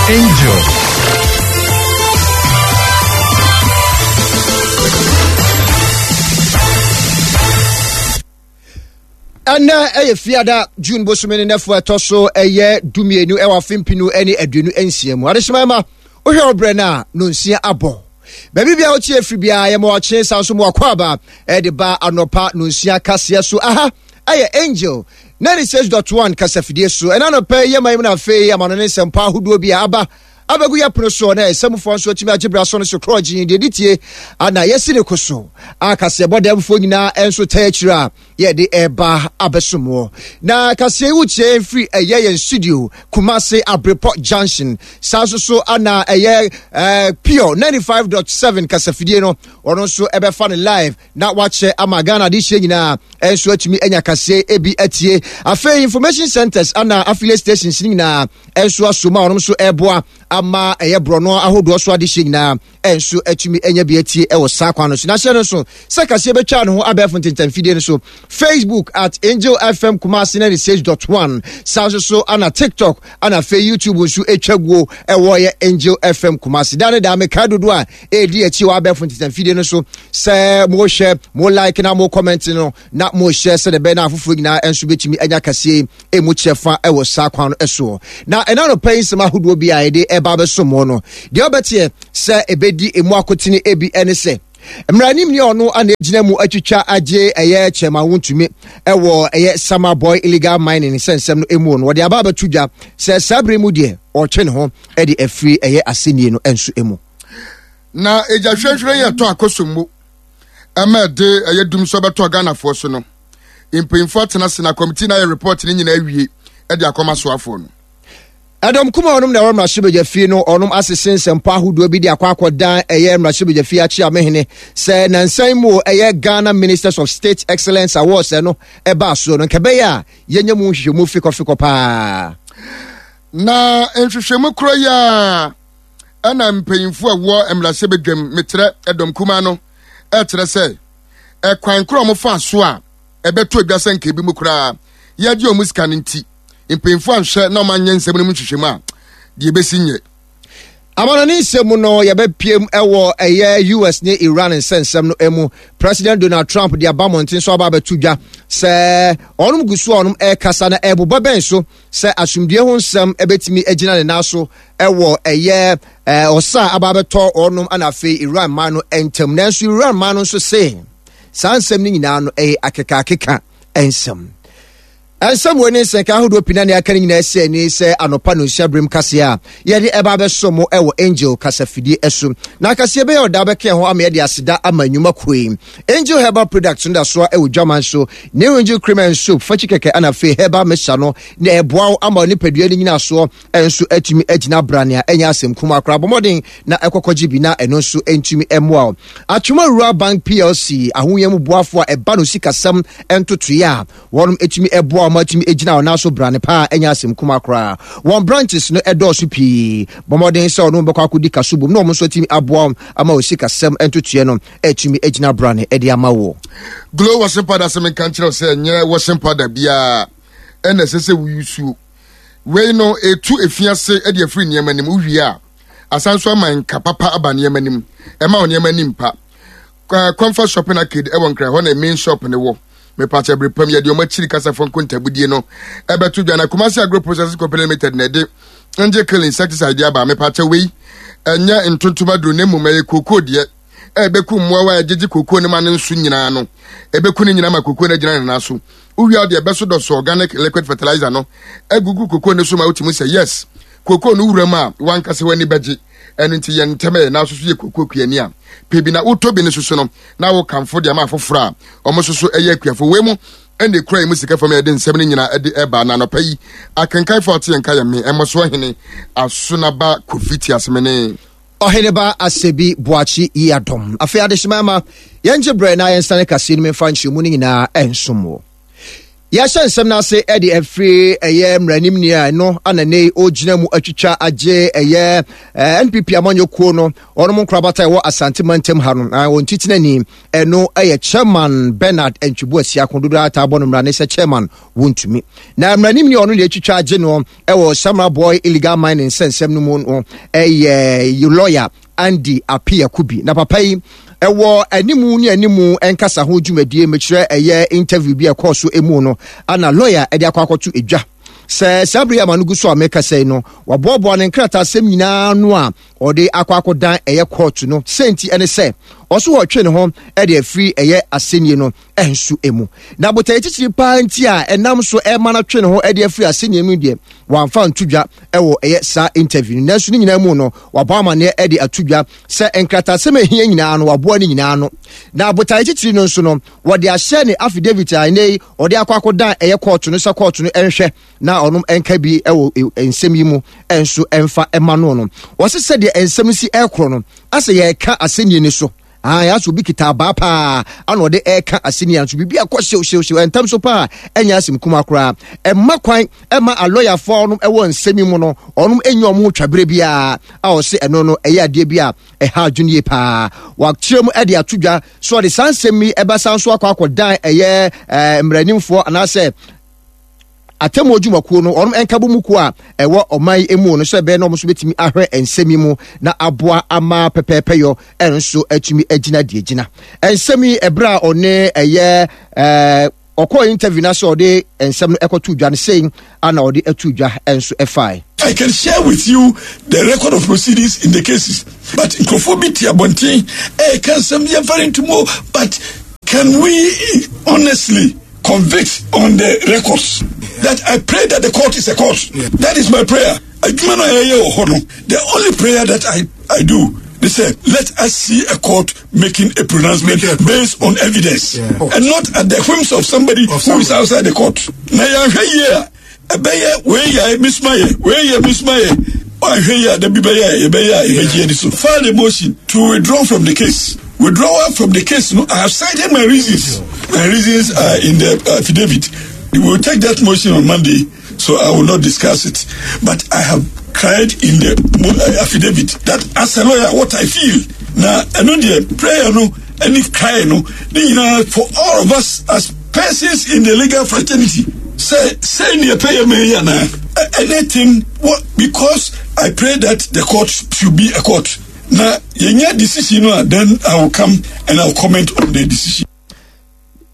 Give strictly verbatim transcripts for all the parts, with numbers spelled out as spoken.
Angel. Ɛnɛ ɛyɛ Fiada, June bosome ne nɛfo ɛtɔ so ɛyɛ dumienu ɛwɔ afe mpinu ɛne aduonu nsia mu. Adehyema ɛma wohwɛ ɔbrɛ no a, nonsia abɔ. Baabi bia wotie afiri biara, yɛma wakye san so mu akɔ aba ɛde ba anɔpa nonsia kaseɛ so. Aha ɛyɛ Angel ninety-six point one kasafidie so. Ɛna anɔpa yi yɛma yi mu no, afei amano ne nsɛmpa ahodoɔ bi a aba abɛgu yɛ pono soɔ na ɛsɛmufoɔ nso atumi agye bra so no so korɔgye deɛ di tie ana yɛsi ne ko so a kaseɛbɔ dɛmfoɔ nyinaa nso ta akyire a yɛde ɛba abɛsomoɔ. Na kaseɛ yi wotie mfiri ɛyɛ yɛn studio, Kumase Abrepɔ Junction. Saa nso so ana ɛyɛ ɛɛ Pure ninety-five point seven kasafidie no, ɔno nso ɛbɛfa no live na wakyɛ ama Ghana de hyɛ nyinaa ɛnso atumi anya kaseɛ ebi atie. Afei information centers ana affiliate stations nyinaa ɛnso aso mu a ɔno nso ɛboa ama ɛyɛ borɔno ahodoɔ so adehyɛ nyinaa ɛnso atumi anya bi atie ɛwɔ saa kwan no so. Na hyɛ no nso sɛ kaseɛ bɛtwa ne ho abɛɛfo ntentamfidie no so, Facebook at Angel F M Kumasi ninety-six point one, saa nso so ana TikTok ana afei YouTube nso atwa guo ɛwɔ yɛ Angel F M Kumasi. Da ne da meka dodo a ɛredi akyi wɔ abɛɛfo ntentamfidie no so sɛ mohwɛ, mo like na mo comment no na mohyɛ sɛdeɛ ɛbɛyɛ na afoforɔ nyinaa nso bɛtumi anya kaseɛ ɛmu kyerɛ ɛwɔ saa kwan no soɔ. Na ɛna no pɛ nsɛm ahodoɔ bi a yɛde ɛba abɛsom no, deɛ ɔbɛteɛ sɛ ɛbɛdi emu akotene ebi ɛne sɛ mmaranim ni ɔno ana egyina mu atwitwa agye ɛyɛ Chairman Wontumi ɛwɔ ɛyɛ Samreboi illegal mining sɛ nsɛm no emu no, wɔde aba abɛto dwa sɛ saa bere mu deɛ, ɔtwe ne ho ɛde afiri ɛyɛ asɛnnie no nso emu. Na egya hwehwɛ yɛ tɔ Akosombo ɛma ɛde ɛyɛ dum so bɛtɔ Ghanafoɔ so no, mpanyinfoɔ atena ase na committee na ayɛ report ne nyinaa awie ɛde akɔma soafoɔ no. Ɛdɔm kuma ɔnom na ɛwɔ mmarahyɛbadwa fie no, ɔnom asese nsɛmpa ahodoɔ bi de akɔ akɔdan ɛyɛ mmarahyɛbadwa fie akyi amehene sɛ nansan mu ɛyɛ Ghana Ministers of State Excellence Awards ɛno ɛbaa soɔ no, nka ɛbɛyɛ a yɛnyɛ mu nhwehwɛmu fikɔfikɔ paa. Na nhwehwɛmu koro yi a ɛna mpanyinfoɔ a ɛwɔ mmarahyɛbadwam, metrɛ ɛdɔm kuma no, ɛkyerɛ sɛ ɛkwan koro a wɔfa so a ɛbɛto adwa sɛ nka ebi mu koraa yɛgye wɔn sika no nti, mpanyinfoɔ anhwɛ na wɔn anyɛ nsɛm no mu nhwehwɛmu a, deɛ ebesi nyɛ. Amanɔne nsɛm mu no, yɛbɛpiem ɛwɔ ɛyɛ U S ne Iran nsɛnsɛm no mu. President Donald Trump de aba mmɔnten so aba abɛto dwa sɛ ɔnom gu so a ɔnom ɛrekasa na ɛbobɔ bɛn so sɛ asomdue ho nsɛm ɛbɛtumi agyina ne nan so ɛwɔ ɛyɛ ɔsa a aba abɛtɔ ɔnom ana afei Iran man no ntam. Nanso Iran man no nso se saa nsɛm no nyinaa no ɛyɛ akekaakeka nsɛm. Ɛnsɛm wɔ ne nsɛnka ahodoɔ pii na ne aka no nyinaa si ani sɛ anɔpa no nsia berem kaseɛ a yɛde ɛba abɛso mo ɛwɔ Angel kasafidie ɛso. Na kaseɛ bɛyɛ ɔda bɛka ho ama yɛde aseda ama nnwuma koe Angel Herbal Products no da soa ɛwɔ dwaman so, New Angel Cream and Soap fakyi kɛkɛ ana afei herbal mixture no na ɛboa wo ama nipadua no nyina soɔ ɛnso atumi agyina brane a ɛnyɛ asɛm kum akora. Bɔmmɔden na ɛkɔkɔgye bi na ɛno nso ntumi mmoa wo. Atwoma Rural Bank P L C, ahoyɛ mu boafoɔ a ɛba no sikasɛm ntotoeɛ a wɔnom etumi ɛboa wɔn atumi egyina wɔn nan so brane paa, ɛnyɛ asɛm kuma koraa. Wɔn branches no ɛdɔɔso pii. Bɔmmɔden sɛ ɔno bɛkɔ akɔdi kaso bom na wɔn nso atumi aboa wɔn ama wɔn sikasɛm ntotoeɛ no atumi egyina brane ɛde ama wɔ. Glow washing powder, sɛ menka nkyerɛ wo sɛ ɛnyɛ washing powder biara ɛna ɛsɛ sɛ woyusuo. Wei no ɛtu efiase de afiri nneɛma nim, wowie a asan so ama nka papa aba nneɛma nim, ɛma wo nneɛma nim pa. Comfort Shopping Arcade ɛwɔ Nkran hɔ na main shop ne wɔ. Mepakyɛ bere pam yɛde ɔmo akyiri kasafo nkontabudie no ɛbɛto dwa. Na Kumasi Agro Processing Company Limited na ɛde Angel Kill insecticide de aba. Mepakyɛ, wei ɛnyɛ ntontom aduro na mmom ɛyɛ kookoo deɛ ɛbɛku mmoawa a ɛgyegye kookoo no ma no nso nyinaa no, ɛbɛku no nyinaa ma kookoo no agyina ne nan so. Wowia deɛ ɛbɛso dɔso organic liquid fertilizer no agugu kookoo no so ma wotumi sɛ yes, kookoo no wura mu a wankasa w'ani bɛgye. Ɛno nti yɛn ntɛm ɛ na soso yɛ kookoo kuani a pɛ bi na wotɔ bi no soso no na wokamfo deɛ ama afoforɔ a ɔmo soso ɛyɛ akuafo. Wei mu ɛna ekura yi mu sika fam yɛde nsɛm no nyinaa ɛde ɛba. Na anɔpa yi akenkanfo a ɔte yɛn ka yɛ me ɛmɔso ɔhene Asonaba Kofi Tiasemene. Ɔheneba Asɛbi Boakye yi adɔm. Afei adehyema ma yɛngye berɛ na yɛnsane kaseɛ no mfa nkyerɛmu no nyinaa ɛnsom wɔ. Yɛahyɛ nsɛm no ase de afiri ɛyɛ mmaranimni a ɛno ana ne ɔgyina mu atwitwa agye ɛyɛ N P P amanyɔkuo no, ɔnom nkorabata ɛwɔ Asante mantam ha no, wɔn titenani, ɛno ɛyɛ Chairman Bernard Antwi Boasiako, dodoɔ ataa bɔ no mmara ne sɛ Chairman Wontumi. Na mmaranimni ɔno na atwitwa agye no ɛwɔ Samreboi illegal mining nsɛnsɛm no mu no ɛyɛ lawyer Andy Appiah Kubi. Na papa yi ɛwɔ animu ne animu nkasa ho dwumadie, mekyerɛ ɛyɛ interview bi a ɛkɔɔ so emu no, ana lawyer ɛde akɔ akɔto edwa sɛ saa bere yi ama no gu so a mekasa yi no, waboaboa ne nkrataasɛm nyinaa no a ɔde akɔ akɔdan ɛyɛ court no. Sɛnti ɛne sɛ ɔso wɔtwe ne ho ɛde afiri ɛyɛ asɛnnie no ɛnso emu. Na botaeɛ titiri paa nti a ɛnam so ɛma no twe ne ho ɛde afiri asɛnnie mu deɛ, wamfa nto dwa ɛwɔ ɛyɛ saa interview no. Nanso ne nyinaa mu no, wabɔ amanneɛ ɛde ato dwa sɛ nkrataasɛm a ɛhia nyinaa no, waboa ne nyinaa no. Na botaeɛ titiri no nso no, wɔde ahyɛ ne affidavit a ɛnɛ yi ɔde akɔ akɔdan ɛyɛ court no sɛ court no ɛnhwɛ na ɔnom ɛnka bi ɛwɔ nsɛm yi mu ɛnso ɛnfa ɛma no no Wɔsi sɛdeɛ nsɛm si ɛkorɔ no, asɛ yɛreka asɛnnie ni so aa, yɛasɛ obi kita abaa paa ana ɔde ɛreka asɛnnie nso biribi akɔ hyew hyew hyew ɛntɛm so paa. Ɛnyɛ asɛm kuma koraa, ɛma kwan ɛma alɔyafoɔ no ɛwɔ nsɛm yi mu no, ɔnom ɛnyɛ ɔmo ho twabere biara a ɔse ɛno no ɛyɛ adeɛ bi a ɛha adwene yie paa. Wakyerɛ mu ɛde ato dwa so ɔde saa nsɛm yi ɛbɛsa nso akɔ akɔdan ɛyɛ ɛɛ mmaranimfoɔ anaasɛ atemmuo dwumakuo no, ɔnom nkabɔ mu kuo a ɛwɔ ɔman yi mu no, sɛ ɛbɛyɛ na ɔmo nso bɛtumi ahwɛ nsɛm yi mu na aboa ama pɛpɛɛpɛyɔ ɛno nso atumi agyina deɛ gyina nsɛm yi. Ɛberɛ a ɔne ɛyɛ ɛɛ ɔkɔɔ interview na sɛ ɔde nsɛm no ɛkɔto dwa no, sei ana ɔde ato dwa nso ɛfae. I can share with you the record of proceedings in the cases. But nkurɔfoɔ bi te abɔnten ɛyɛ nsɛm yɛmfa ntomo, but can we honestly convict on the records? That I pray that the court is a court. Yeah. That is my prayer. Adwuma no a yɛyɛ wɔ hɔ no, the only prayer that I, I do, they say, let us see a court making a pronouncement a based on evidence yeah. and not at the whims of somebody of who is outside the court. Na yɛahwɛ yie a, ɛbɛyɛ wei yɛ misuma yɛ, wei yɛ misuma yɛ, ɔahwɛ yie a, dabi bɛyɛ a yɛbɛyɛ a yɛbɛgye ani so. File a motion to withdraw from the case. Withdrawal from the case no, I have cited my reasons. My reasons are in the affidavit. We will take that motion on Monday, so I will not discuss it. But I have cried in the affidavit that as a lawyer, what I feel. Now, I know the prayer no, any cry no, you know, for all of us as persons in the legal fraternity, say, say in the prayer me anything, what, because I pray that the court should be a court. Now, yɛnya decision no, then I will come and I will comment on the decision.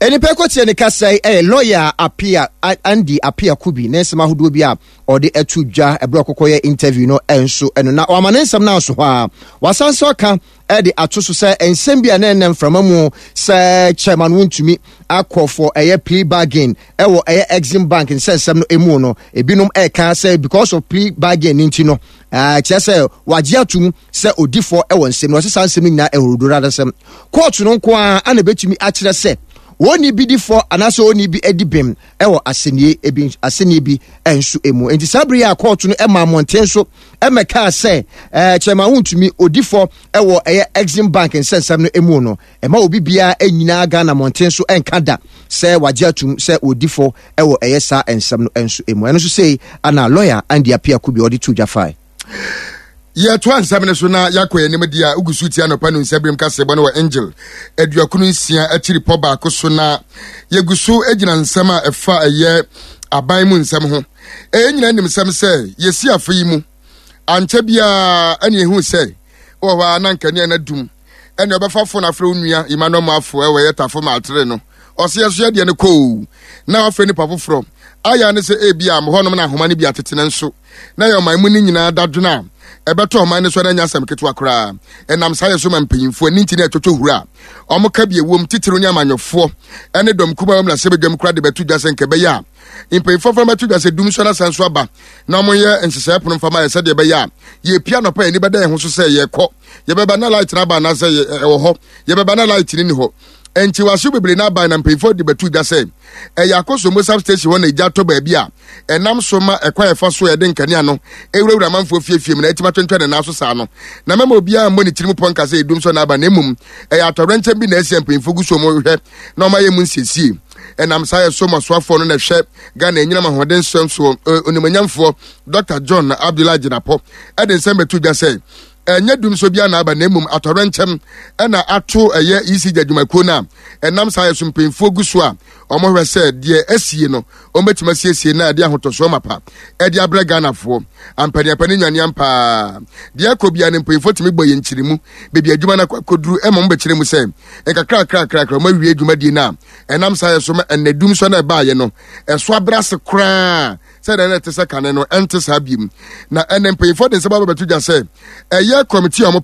Nipa kɔtie ne kasa yi ɛyɛ lawyer Appiah, Andy Appiah Kubi, ne nsɛm ahodoɔ bi a ɔde ato dwa ɛberɛ ɔkɔkɔ yɛ interview no ɛnso ɛno. Na wama ne nsɛm no aso hɔ a, wasan so aka ɛde ato so sɛ nsɛm bi a na ɛnam mframa mu sɛ Chairman Wontumi akɔ for ɛyɛ plea bargain ɛwɔ ɛyɛ Exim Bank nsɛnsɛm no emu no, ebinom ɛka sɛ because of plea bargain ne nti no, kyerɛ sɛ wagye atum sɛ odifoɔ ɛwɔ nsɛm no. Ɔsɛ saa nsɛm no nyinaa ɛwɔrodoro adasɛm. Court no nko ara ana ebɛtumi akyerɛ sɛ wɔn bi di fɔ anaasɛ wɔn bi adi bem ɛwɔ asɛnnie ebi asɛnnie bi nso emu. Nti saa bere yi a court no ɛma mmɔnten so ɛmɛkaa sɛ ɛɛ Chairman Wontumi odi fɔ ɛwɔ ɛyɛ Exim Bank nsɛnsɛm no emu no, ɛma obi biara nyinaa Ghana mmɔnten so ɛnka da sɛ wagye atum sɛ odi fɔ ɛwɔ ɛyɛ saa nsɛm no nso emu. Ɛno nso sei ana lawyer Andy Appiah Kubi ɔde to dwa fae. Yɛtoa nsɛm no so na yɛakɔ anim deɛ a wogu so tia anɔpa no nsɛbirim kasɛbɔ no wɔ Angel aduɔkron nsia akyiri pɔ baako so. Na yɛgu so gyina nsɛm a ɛfa ɛyɛ aban mu nsɛm ho. Ɛyɛ nyina nim sɛm sɛ yɛsi afe yi mu ankyɛ biara ɛne ɛhu sɛ wɔ hɔ a na nkanea no adum, ɛne ɔbɛfa fo no afrɛ wo nua Emmanuel Mafo ɛwɔ ɛyɛ Tafo Maatere no, ɔsɛ yɛso yɛdeɛ no kɔɔ na wafrɛ nipa foforɔ ayɛ ne sɛ ebi a hɔnom na ahoma no bi atete ne nso na yɛ ɔman mu no nyinaa dadwene a ɛbɛtɔ ɔman no so na anya asɛm ketewa koraa. Ɛnam saa yɛ so ma mpanyimfoɔ ani nti na ɛtwotwo hura a ɔmo ka bi ewom titiriw ne amanyɔfoɔ ɛne dɔm kuma wɔm na sɛ bedwam koraa de bɛto dwa sɛ nka ɛbɛyɛ a mpanyimfoɔ fa bɛto dwa sɛ dum so na san so aba na ɔmo yɛ nhyehyɛe pono mfama yɛ sɛdeɛ ɛbɛyɛ a yɛpia nɔpa yɛn ani bɛda yɛn ho so sɛ yɛkɔ, yɛbɛba na light no aba anaasɛ ɛwɔ hɔ, yɛbɛba na light no ni hɔ. Nti wahyew bebree n'aban na mpanyinfoɔ de bɛto dwa sɛ ɛyɛ Akosombo substation hɔ na egya tɔ baabi a ɛnam so ma ɛkwan ɛfa so a yɛde nkanea no ewurawura amanfoɔ fiefie mu na ɛtumi atwentwɛn ne nan so saa no. Na mɛma obiara mmɔ ne tirim pɔ nka sɛ edum so n'aba, na emom ɛyɛ atɔwrɛnkyɛn bi na ɛsi mpanyinfoɔ gu so wɔn hwɛ na wɔn ayɛ mu nsiesie. Ɛnam saa yɛ so masoafoɔ no na ɛhwɛ Ghana anyinam ahoɔden nsɛm soɔ, onimonyamfoɔ Doctor John Abdullahi Jinapor ɛde nsɛm bɛto dwa sɛ ɛnyɛ dumsɔ biara na aba, na mmom atɔrɛnkyɛm ɛna ato ɛyɛ E C G adwumakuo no a ɛnam saa yɛ so mpanyinfoɔ gu so a wɔhwɛ sɛ deɛ asie no wɔbɛtumi asiesie na ɛde ahotɔsoɔ mapa ɛde abrɛ Ghanafoɔ ampaniapa ne nwaneam paa. Deɛ ɛkɔ bia no, mpanyinfoɔ tumi bɔ yɛn nkyiri mu beebi adwuma no akɔduru, ɛma wɔn bɛkyerɛ mu sɛ nkakrakrakrakra wɔn awie dwumadie no a ɛnam saa yɛ so ma ɛnɛ dumsɔ no ɛbaayɛ no ɛso abrɛ ase koraa sɛdeɛ ɛna ɛte sɛ kane no, ɛnte saa biem. Na ɛnɛ mpanyinfoɔ de nsɛm abɛbɛto dwa sɛ ɛyɛ committee a wɔn